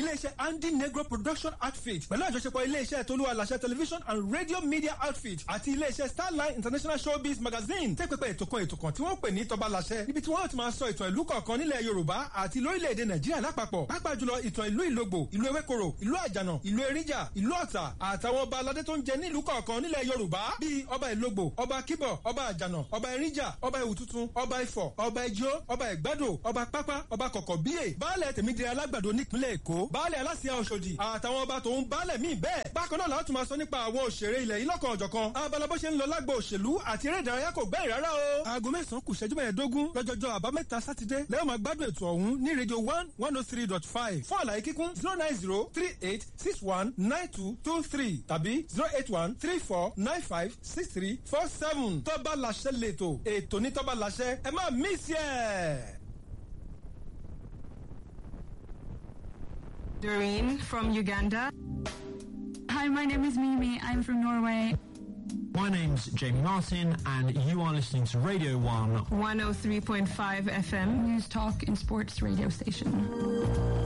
Iléeṣẹ́ Andy Negro Production Outfit pẹ̀lú àjọṣepọ̀ iléeṣẹ́ Tolúwa Làṣẹ Television and Radio Media Outfit àti iléeṣẹ́ Starline International Showbiz Magazine tẹ́ pẹpẹ ètò kan ètò kan tí wọ́n pè ní Tọ́ba Làṣẹ, níbi tí wọ́n ti máa sọ ìtàn ìlú kọ̀ọ̀kan nílẹ̀ Yorùbá àti lórílẹ̀‐èdè Nàìjíríà lápapọ̀, pàápàá jùlọ ìtàn ìlú Ìlógbò, ìlú Ewékòró, ìlú Àjànà, ìlú Eríjà, ìlú Ọ̀tà àtàwọn ọba aládé tó ń jẹ nílùú kọ̀ọ̀kan nílẹ̀ Yorùbá, bíi ọba Ìlógbò, ọba Kíbọ̀, ọba Àjànà, ọba Eríjà, ọba Ìwù Tuntun, ọba Ifọ̀, ọba Ijó, ọba Ìgbádò, ọba Pápá, ọba Kọ̀kọ̀ Bíyè, baálẹ̀ Tèmídire Alágbàdo nípínlẹ̀ Èkó, baálẹ̀ Aláṣẹ Ọ̀ṣọ́dì àtàwọn ọba tòun baálẹ̀ míì bẹ́ẹ̀. Bákan náà la ó tún máa sọ nípa àwọn òṣèré ilẹ̀ yìí lọ́kan ọ̀jọ̀kan. Abala bó ṣe ń lọ lágbo òṣèlú àti eré ìdárayá kò gbẹ́yìn rárá o. Aago 9 kù ìṣẹ́jú 15 lọ́jọ́jọ́ àbámẹ́ta Sátidé lẹ́yìn máa gbádùn ètò ọ̀hún ní rédíò 1 103.5. Fún àlàyé kíkún, 09038619223 tàbí 08134956347. Tọ́ba Làṣẹ lètò, ètò ní Tọ́ba Làṣẹ, ẹ má mísì ẹ̀. Doreen from Uganda. Hi, my name is Mimi. I'm from Norway. My name's Jamie Martin, and you are listening to Radio 1 103.5 FM. News, talk, and sports radio station.